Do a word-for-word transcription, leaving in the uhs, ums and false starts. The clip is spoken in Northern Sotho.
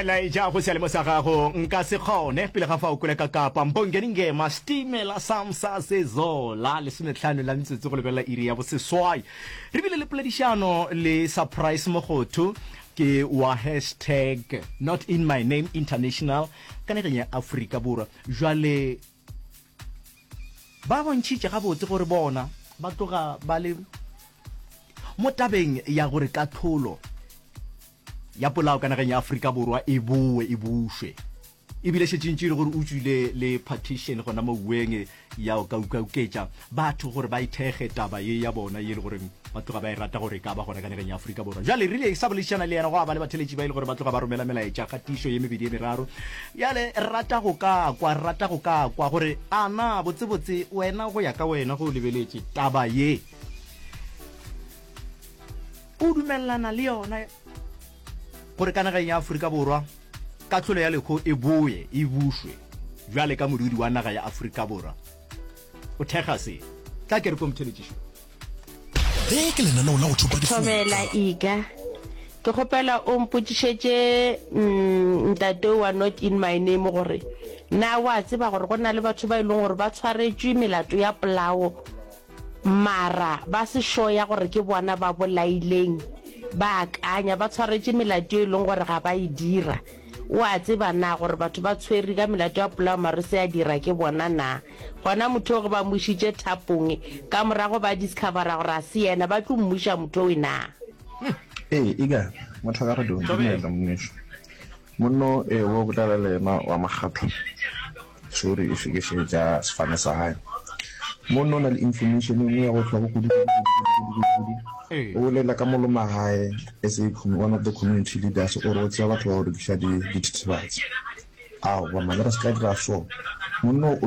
Melaetša go seyalemoya sa gago nka se kgone pele ga fao kwele ka kapa Mbongeni Ngema Stimela Samsa Sezola lesometlhano la metsotso go lebelela iri ya boseswai re bile le poledišano le Surprise Mogotho ke wa hashtag not in my name international ka nageng ya Afrika Borwa jwale ba bontšhitše gabotse gore bona ba tloga ba le mo tabeng ya gore kahlolo ya polao ka nageng ya Afrika Borwa e boe e bušwe. E bile šetše ntše e le gore o tšwile le partition gona mo uweng ya go ka ukauketša batho gore ba ithekge taba ye ya bona ye e le goreng ba tloga ba e rata gore e ka ba gona ka nageng ya Afrika Borwa. Bjale rile sa boledišana le yena gwa ba le batheletši ba e le gore ba tloga ba romela melaetša kgatišo ye mebedi ye meraro. Bjale re rata go ka kwa, re rata go ka kwa gore a na botsebotse wena go ya ka wena ge o lebeletše taba ye o dumelelana le yona gore ka nageng ya Afrika Borwa kahlolo ya lehu e boe e bušwe bjale ka modudi wa naga ya Afrika Borwa o thekga se. Tla ke re ko motheletšišo. Le ke lenaneo la go thopa difoka. Thobela Ika. Ke kgopela o mpotšišetše ntate wa not in my name gore na wa tseba gore go na le batho ba e leng gore ba tshwaretšwe melato ya polao Mara ba se sure ya gore ke bona ba bolaileng, ba akanya, ba tshwaretše melato e leng gore ga ba e dira. O a tseba na gore batho ba tshwere ka melato ya polao mara e se ya dira ke bona na? Gona motho o ge ba mo išitše thapong, ka morago ba discovera gore a se yena, ba tlo mmuša motho owe na? Ee, eka motho a ka re dumela ngwanešu. Monno e wo bolela le yena wa makgatho. Sorry if ke šetša sefane sa gae. Monno o na le information e nngwe ya go hlokwa kudu kudu kudu kudu kudu kudu. O bolela ka moloma gae as a one of the community leaders o re o tseba batho ba go rekiša dithethebatsi. Aowa man re se ka dira so. Monno o